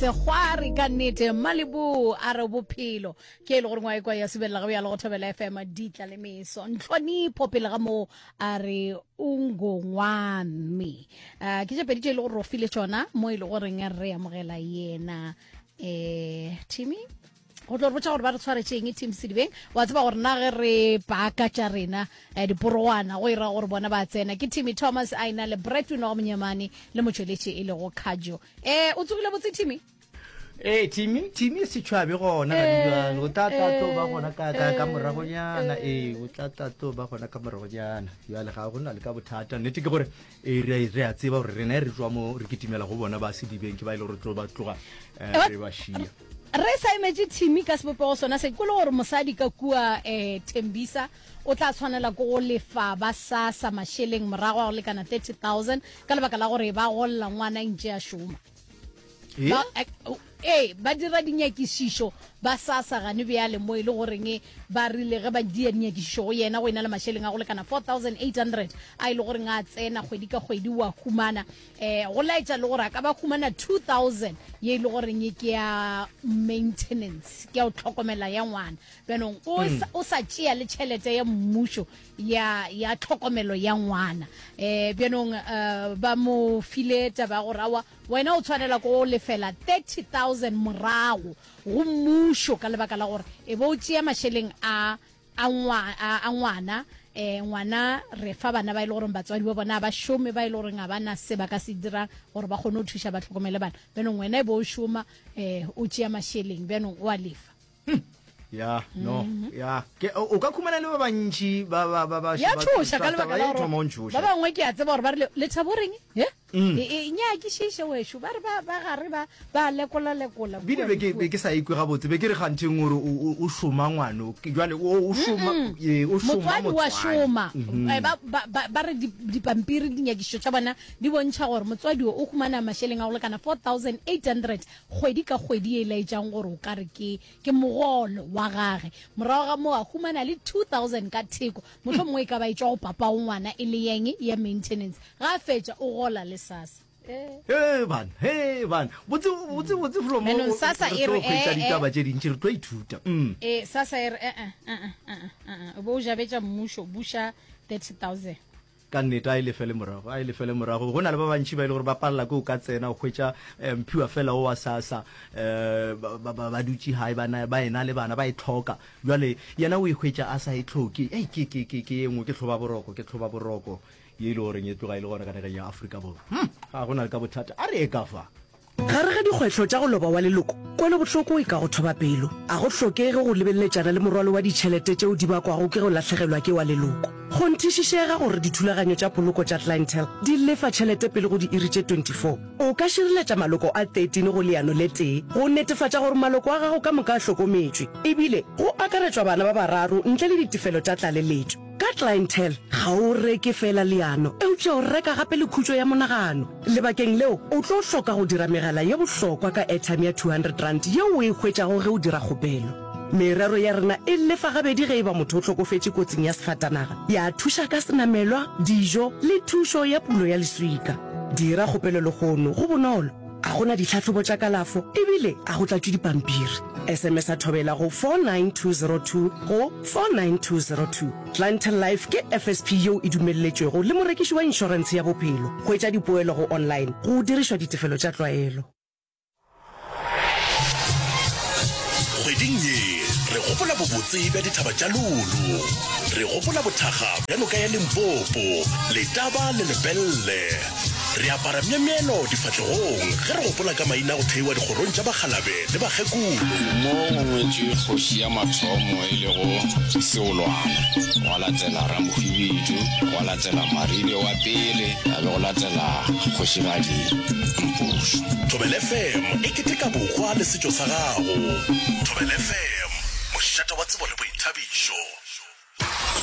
Sekgwari ka nnete Malibu a re bophelo ke e le gore ngwa ekwa ya subelela ga bjalo go thobela FM ditla le meso ntlhonipho pele ga moo a re ungongwami uh, ke tše pedi tše e le gore ro file tšona mo e le goreng re amogela yena eh Timmy go tlo re botša gore ba re tshwaretšeng team sedibeng wa tseba gore na ge re paka tša rena eh, diporogwana go ira gore bona ba tsena ke timmy thomas a ena le bretwin wa go monyemane le motšweletši e lego khajo um o tsogile botse timmy ee timmy timmy se tšhwabe gona ga dijalo o tla tla tlo ba gona ka ka ka moragonyana ee o tla tla tlo ba gona ka moragonyana jale ga go na le ka bothata nnete ke gore ee re re a tseba gore rena re tswa mo re kitimela go bona ba sedibeng ke ba e le gore tlo ba tloga eh, re ba šia Re sa emetše Timmy ka sebopego sona se, ke le gore mosadi ka kua um Thembisa o tla tshwanela ke go lefa ba SASSA mašeleng morago a go lekana 30,000 ka lebaka la gore ba golla ngwana ntše a šoma. Ba, eh, ee, ba dira dinyakišišo ba SASSA gane bjale mo e le goreng ba rile ge ba dia dinyakišišo go yena go ena le mašeleng a go lekana 4800 a e le goreng a tsena kgwedi ka kgwedi wa humana eh go laetša le gore a ka ba humana 2000 ye e le goreng ke ya maintenance ke ya go tlhokomela ya ngwana bjanong o mm. o sa tšea le tšhelete ya mmušo ya ya tlhokomelo ya ngwana eh bjanong eh, ba mo file taba ya gore awa wena o tshwanela ko lefela 30000 morago go mmušo ka lebaka la gore e bo o tšea mašeleng a a, ngwa, a, a ngwana eh, ngwana re fa bana ba e le goreng batswadi ba bona ba šome ba e le goreng ga ba na se ba ka se dirang gore ba kgone go thuša ba tlhokomele bana bjanong wena e bo o šoma eh, o tšea mašeleng bjanong o a lefa hmm. ya no mm -hmm. ya ke o ka khumana le ba bantši ba ba ba ba ya tšhoša ka lebaka la gore ba bangwe ke a tseba gore ba rile lethabo reng he Mm. E, e nyakišiše wešo ba re ba ba gare ba ba lekola lekola bile be ke be ke sa ikwe gabotse be ke re ganteng gore o šoma ngwano jwale o šoma e o šoma motswadi wa šoma mhm. eh, ba ba ba re dipampiri dinyakišišo tša bona di bontšha gore motswadi o humana mašeleng a go lekana 4800 kgwedi ka kgwedi e laetšang gore o ka re ke ke mogolo wa gage morago ga moo a humana le 2000 ka theko mohlomongwe e ka ba e tšwa go papa o ngwana e le yeng ya maintenance ga a fetša o gola le sasa He bana, he bana. Botse botse botse flo mo. Bjanong SASSA e re, hwetša eh, ditaba eh. tše dintši re tlo ithuta. Mm. Eh, sasa e re eh eh eh eh eh o bo o jabetša mmušo buša 30000 Ka nnete a e lefele morago, a e lefele morago. Go na le ba bantši ba e le gore ba palela ke o ka tsena o hwetša eh, mphiwa fela o wa SASSA eh, ba, ba, ba, ba dutše gae ba na ba ena le bana ba e tlhoka. Bjale yena o e hwetša a sa e tlhoke. Ei ke ke ke ke ye nngwe ke tlhoba boroko, ke tlhoba boroko ye e le goreng e tloga e le gona ka nageng ya Afrika Borwa. Hm, ga go na le ka bothata. A re ye ka fa. Gare ga dikgwetlho tša go loba wa leloko, kwelobohloko e ka go thoba pelo. A go hlokege go lebeleletšana le morwalo wa ditšhelete tšeo di bakwago ke go lahlegelwa ke wa leloko. Kgonthišišega gore dithulaganyo tša poloko tša Clientele di lefa tšhelete pele go diiri tše 24. O ka šireletša maloko a 13 go leano le tee go netefatša gore maloko a gago ka moka a hlokometšwe, ebile go akaretšwa bana ba bararo ntle le ditefelo tša tlaleletšo. Ka Clientele, ga o reke feela leano, eupša o reka gape le khutšo ya monagano. Lebakeng leo, o tlo hloka go dira megala ye bohlokwa ka airtime ya R200 yeo o e hwetšago ge o dira kgopelo. Merero ya rena e lefa gabedi ge e ba motho o hlokofetše kotsing ya sefatanaga, ya thuša ka senamelwa, dijo le thušo ya pulo ya leswika. Dira kgopelo lehono, go bonolo, ga go na ditlhahlobo tša kalafo ebile ga go tlatšwe dipampiri. SMS-a Thobela go 49202 go 49202. Clientele Life ke FSP yeo e dumelletšwego le morekiši wa inšorentshe ya bophelo. Hwetša dipoelo go online go dirišwa ditefelo tša tlwaelo. Kgweding ye re gopola bobotse bja dithaba tša Lulu. Re gopola bothakga bja noka ya Limpopo, Letaba le Lepelle. Re apara myemyelo difahlegong ge re gopola ka maina a go theiwa dikgorong tša bakgalabe le bakgekolo. Mo go ngwetšwe kgoši ya mathomo e lego Seolwana, gwa latela Ramohwibidu, gwa latela Maribe wa pele, ga be go latela Kgošigadi Mpošo. Thobela FM e keteka bohwa le setšo sa gago. Thobela FM, mošate wa tsebo le boithabišo.